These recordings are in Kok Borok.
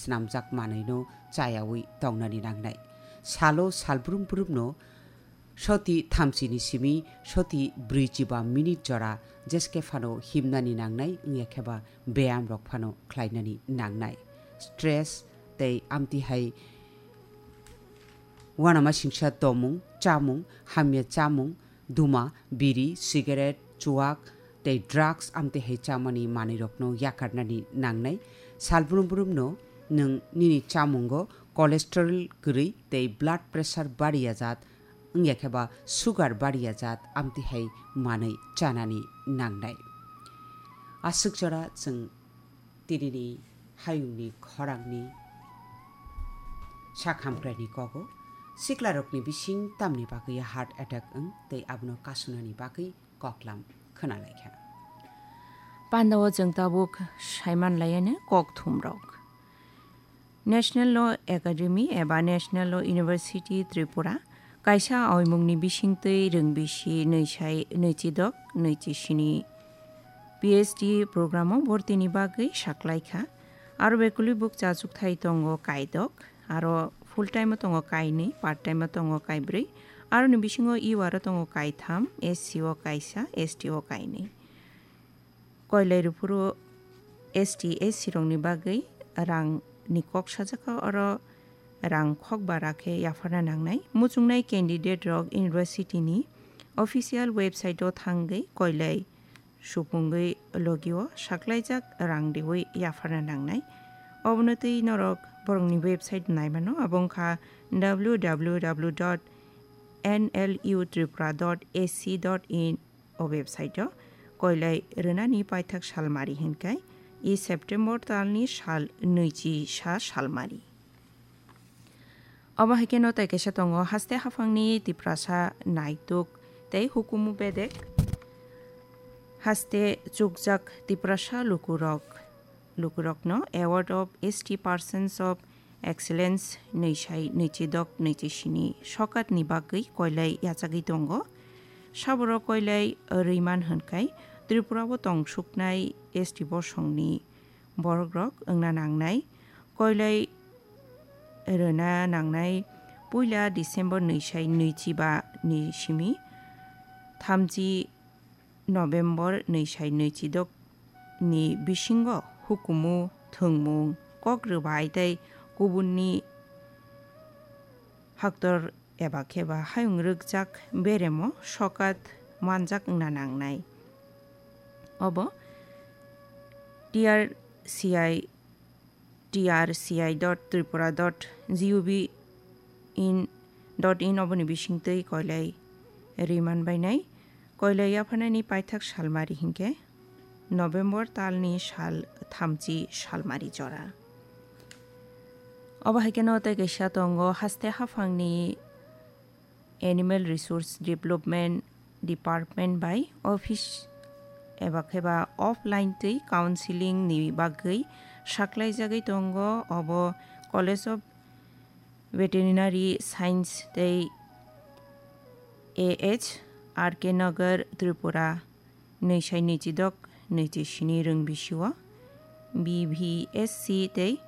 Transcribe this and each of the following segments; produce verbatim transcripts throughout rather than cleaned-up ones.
swnamjak manwino chayawi tongnani nangnai. Salo salbrum brumno soti thamchini simi soti brwichiba minute jora jeske phano himnani nangnai, wngya khe ba beyam rok phano khlainani nangnai. Stress tei amtihai uanamasingcha tomung, chamung, hamya chamung, duma, biri, cigarette, chuak tei drugs amtihai chamani manwirokno yakarnani nangnai. Salbrum brumno nwng nini chamungo cholesterol kwrwi tei blood pressure bariya jat, wngya khe ba sugar bariya jat amtihai manwi chanani nangnai. Aswk jora chwng tinini hayungni khorangni sak hamkraini kogo siklarokni bising tamni bagwi heart attack wng tei abono kasunani bagwi koklam khwnalaikha. Pandao chwng tabuk saiman laiya kok thumrok. National Law Academy eba National Law University Tripura kaisa oimungni bisingtwi rwngbisi nwisai nwichidok nwichi sini P H D program o bortini bagwi saklaikha. Aro bekulwi bukcha chukthai tongo kaidok, aro full time o tongo kainwi, part time o tongo kaibrwi, aroni bisingo U R o tongo kaitham, S C o kaisa, S T o kainwi. Koilai rwphuru S T, S C rokni bagwi rangni kok sajak kha, oro rang khokba rakhe yapharna nangnai. Muchungnai candidate rok university ni official website o thangwi koilai supungwi logio saklaijak rang riwi yapharna nangnai. Obono twi norok borokni website naimano, abo wngkha W W W dot N L U Tripura dot A C dot in. O website o koilai rwnani paithak salmari hinkai i September talni sal nwichi sa salmari. Obo hai kheno tei kaisa tongo, haste haphangni Tiprasa naituk tei hukumu bedek haste chukjak Tiprasa lukurok, lukurokno Award of S T Persons of Excellence nwisai nwichidok nwichi sini sokatni bagwi koilai yachagwi tongo. Saboro koilai rwiman hwnkhai Tripura o tongsuknai S T bosongni borokrok wngna nangnai. Koilai rwna nangnai puila December nwisai nwichiba ni simi thamchi November nwisai nwichidok ni bisingo hukumu, thwngmung, kok rwbai tei kubunni haktor eba khe ba hayung rwkjak beremo sokat manjak wngna nangnai. Obo T R C I, T R C I dot tripura dot G O V in, dot in oboni bisingtwi koilai rwi manbainai. Koilai yapharnani paithak salmari hinkhe November talni sal thamchi salmari jora. Obo hai kheno tei kaisa tongo, haste haphangni Animal Resource Development Department bai office eba khe ba offline twi counseling ni bagwi saklaijagwi tongo. Obo College of Veterinary Science tei A H R K Nagar, Tripura, nwisai nwichidok nwichi sini rwng bisio B V S C tei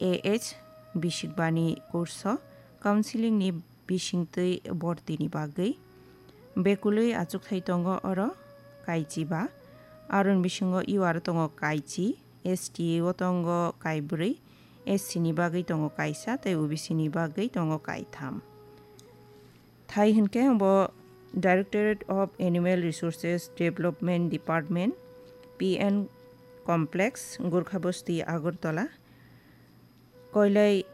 A H bisikbani course o counseling ni bisingtwi bortini bagwi bekulwi achukthai tongo oro kaichi ba, aroni bisingo U R tongo kaichi, S T o tongo kaibrwi, S C ni bagwi tongo kaisa tei O B C ni bagwi tongo kaitham. Thai hinkhe bo Directorate of Animal Resources Development Department, P N Complex, Gurkha Bosti, Agartala. Koilai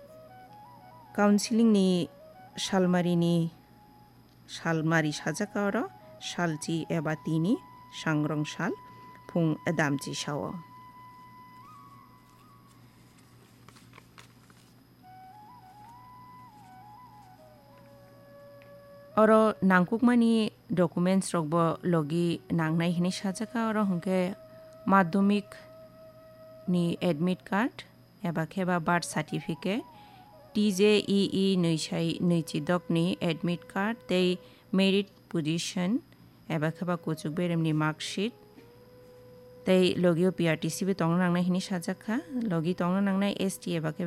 counseling ni salmari ni salmari sajak oro salchi eba tini sangrong sal phung damchi sao. Oro nangkukmani documents rokbo logi nangnai hinwi sajak, oro hwnkhe madhyamik ni admit card, eba khe ba birth certificate, T J E E nwisai nwichidok ni admit card tei merit position eba khe ba kuchuk beremni mark sheet tei logio P R T C bo tongna nangnai hinwi sajak kha. Logi tongna nangnai S T eba khe ba